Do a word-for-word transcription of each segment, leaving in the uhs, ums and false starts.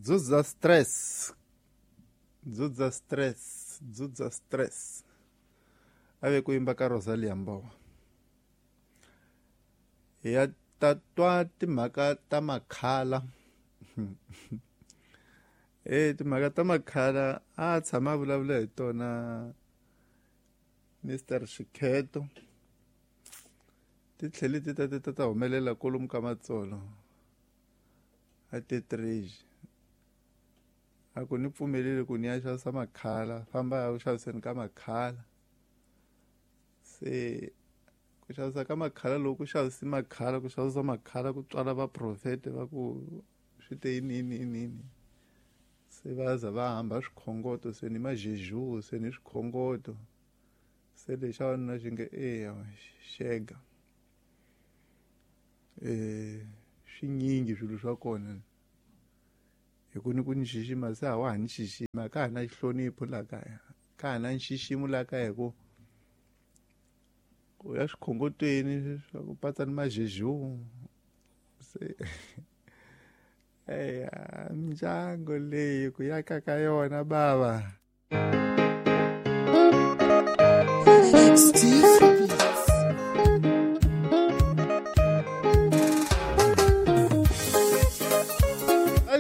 Dzudza stress, dzudza stress, dzudza stress. A ve ku yimba ka Rosalia Mbowa. Hi ya ta twa timhaka ta makhala. E timhaka ta makhala a tshama a vulavula hi tona Mister Xikheto. Ti tlhele ti ta ti ta ta humelela kwalomu ka Matsolo a Tetrage. A ku ni pfumeleli ku ni ya xavisa makhala, famba ya ku xaviseni ka makhala. Se ku xavisa ka makhala loko ku xavisi makhala, ku xavisa makhala ku tswala vaprofete va ku swi te yini yini yini yini. Se va za va hamba swikhongoto, se ni majeju, se ni swikhongoto. Se lexi xa wanuna xi nge eya xega. Eh swinyingi swilo swa kona. Hi ku ni ku ni xixima se a wa ha ni xixima, ka ha na xihlonipho laha kaya, ka ha na nxiximo laha kaya hi ku u ya swikhongotweni swa ku patsa ni majeju. Se eya mindyangu leyi ku ya ka ka yona bava. Steve Beats.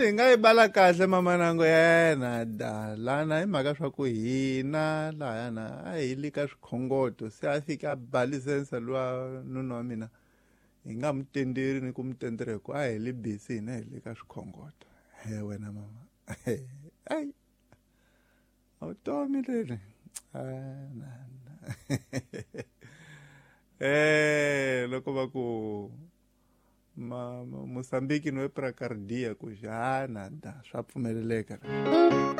Hi nga yi bala kahle mamanango yena da lana hi mhaka swa ku hina lahayana a hi le ka swikhongoto, se a fika a ba lisense luwa nuna wa mina hi nga mu tenderi ni ku mu tendera hi ku a hi le busy hina hi le ka swikhongoto. He wena mama, ai vutomi leri na na. Eh loko va ku ma Mozambique no ePrakardia ku xana da swa pfumeleleka.